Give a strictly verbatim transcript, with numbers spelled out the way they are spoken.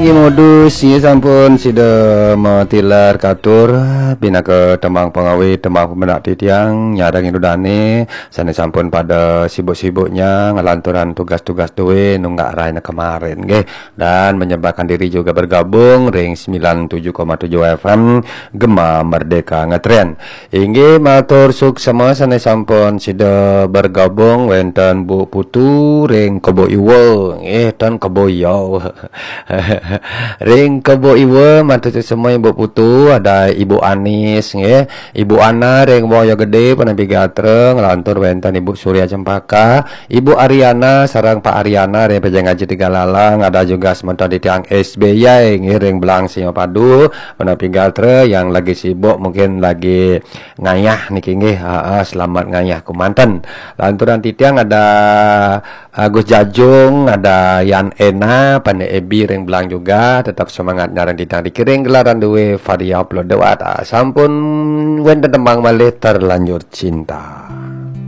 Modus, inggih sampun sida matilar katur, pinaka tembang pangawi, tembang pamendak titiang, nyarengin ida dane sane sampun pada sibuk-sibuknya ngalanturang tugas-tugas duwe nunggak raina kemarin, nggih. Dan menyempatkan diri juga bergabung ring sembilan tujuh koma tujuh F M Gema Merdeka Ngetren. Inggih, matur suksema sane sampun sida bergabung, wenten Bu Putu ring Kebo Iwa, nggih, ten Kebo Iya. Ring Kebo Iwa, matur suksema Ibu Putu, ada Ibu Anis, nggih, Ibu Ana ring Woyo Gede, Penapi Gatra, ngelantur wenten Ibu Surya Cempaka, Ibu Ariana sareng Pak Ariana ring Pejeng Aji Tiga Lalang, ada juga semeton titiang S B Y, nggih, ring Belang Sima Padu, Penapi Gatra yang lagi sibuk, mungkin lagi ngayah niki, nggih. Ha, ha, selamat ngayah kemanten. Lanturang titiang ada Agus Jajung, ada Yan Ena, Pane Ebi ring Belang juga, tetap semangat nyarengin titiang, dikiring gelaran duwe Varia Upload dewat. Ah, sampun wenten tembang malih, Terlanjur Cinta.